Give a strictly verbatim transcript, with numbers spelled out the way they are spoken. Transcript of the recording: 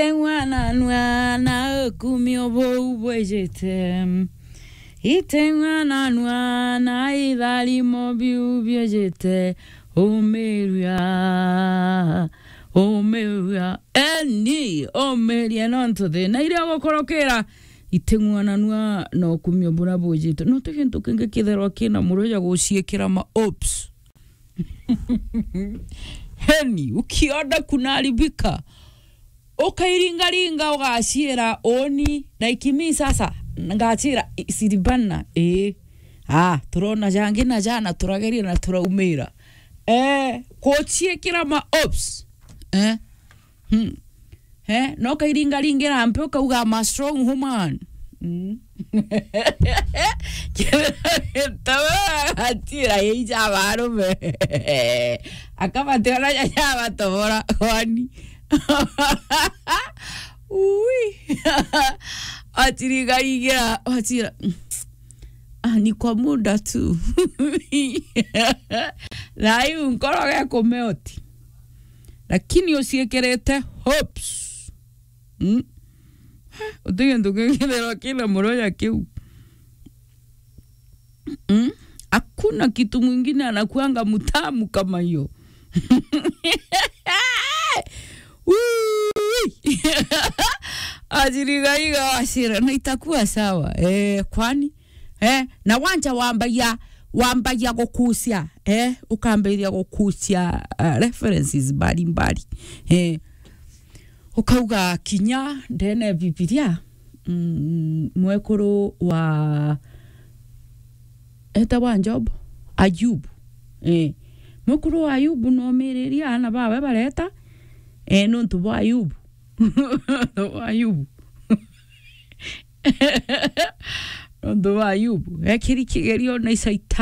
Iteng'wananua na ukumio buu bwijite. Iteng'wananua na itharimo biu biijite. Umiria. Umiria. Eni, umiria nontu thina iria ugukorokera. Iteng'wananua na ukumio buria bwijite. No ti gintu kingi kitherwa kina muro ja guciikira ma hopes. Heni, ukiona kunaharibika, ukairingaringa, ugaciira uni, like me sasa, ngaciira, i-, siribana, ii. Ah, turona jangi na jana, turageria na turaumira. Eh, guciikira ma hopes. Eh? Hmm. Eh, no kairingaringira mpe ukauga, "I'm a strong woman." Mm. Tawe atira yeija barume. Akabationa jaja batobora kwani. Ui. Atiringaringira, atira. Ah, ni kwa muda tu. Thayu nkoro gekumeoti. Lakini uciikirite hopes. Mm. Uti gintu kingitherwa kina muroya kiu. Mm. Hakuna kitu mwingine anakuanga mtamu kama hiyo. Ui! Ajirigaiga wacira, na itakuwa sawa. Eh, kwani? Eh, na wanja wambagia, wambagia gukucia, eh, ukambiria gukucia, uh, references mbalimbali. Eh, ukauga kinya ndene Bibilia, mm, mwekuru wa, etagwa Job, Ayubu. Eh, mwekuru wa Ayubu nomiriria ana bawe bareta, eh, nontu bwa Ayubu. Nontu bwa Ayubu. Nontu bwa Ayubu. Ekiri kigerio na Shaitani.